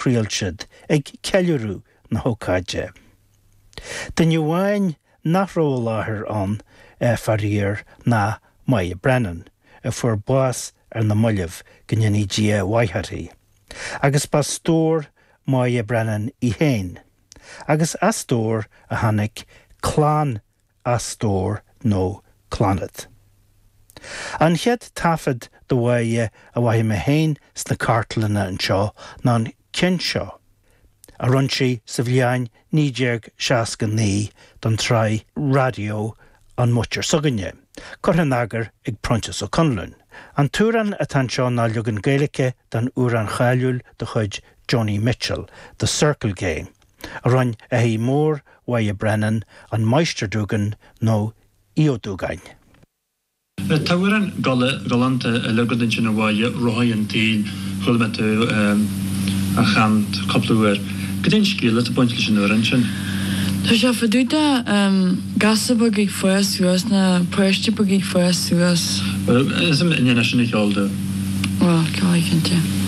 Thriall siad ag ceiliúradh na hócáide. Duine amháin nach raibh i láthair ann, faraor, ná Moya Brennan, a fuair bás ar na mallaibh, go ndéanaí Dia a mhaith uirthi. Agus b'as Stord Moya Brennan í féin. Agus as Stord a tháinig clann As Stór nó Clannad. An chéad taifead de Mháire a mhothaigh mé féin sna cartlanna anseo ná an ceann seo, a rinne sí sa bhliain 1969 don tsraith raidió An Muintir S'againne, curtha in eagar ag Proinsias Ó Conluain. An t-amhrán atá anseo ná leagan Gaeilge den amhrán cháiliúil de chuid Joni Mitchell, The Circle Game. a rinne athair mór Mháire Brennan, an Máistir Dúgan nó Aodh Ó Dúgáin. Tá amhrán galánta eile agat ansin a Mháire, Rothaí an tSaoil, chuala mé tú á chanadh cúpla uair. Cad é an scéal atá ag baint leis an amhrán sin? Tá sé fá dtaobh de gasúr beag ag fás suas nó páiste beag ag fás suas. Bhuel, is ionann sin a cheol dom. Bhuel, ceolfaidh cinnte.